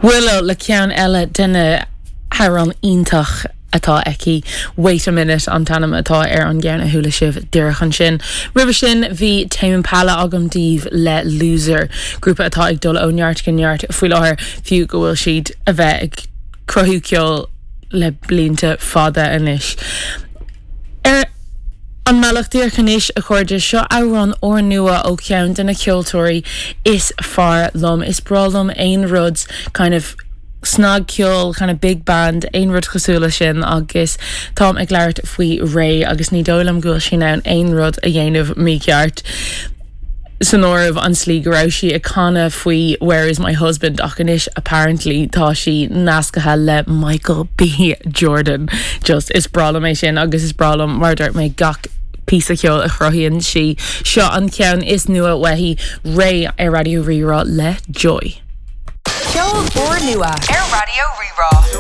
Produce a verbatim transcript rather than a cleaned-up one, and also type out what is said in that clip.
Willow le ceann eile de na hamhráin iontach atá aici wait a minute an t-ainm atá ar an gceann a chuala sibh díreach ansin. Roimhe sin bhí Tame Impala agam daoibh le loser, grúpa atá ag dul ó neart go neart faoi láthair fiú go bhfuil siad a bheith ag cruthú ceol le blianta fada anois. Ar an mbealach díreach anois a chairde seo amhrán úrnua ó cheann de na ceoltóirí is fearr liom is breá liom aon rud kind of snagcheol kind of big band aon rud cosúil leis sin agus táim ag labhairt faoi Raye agus ní dóigh liom go bhfuil sí in ann aon rud a dhéanamh mícheart. San áireamh an tslí go raibh sí ag canadh faoi where is my husband ach anois apparently tá sí nasctha le Michael B. Jordan. Just is breá liom é sin agus is breá liom mar dúirt mé gach píosa ceoil a chruthaíonn sí seo an ceann is nua uaithi Raye ar Raidió Rí-Rá le Joy. Ceol úrnua ar Raidió Rí-Rá.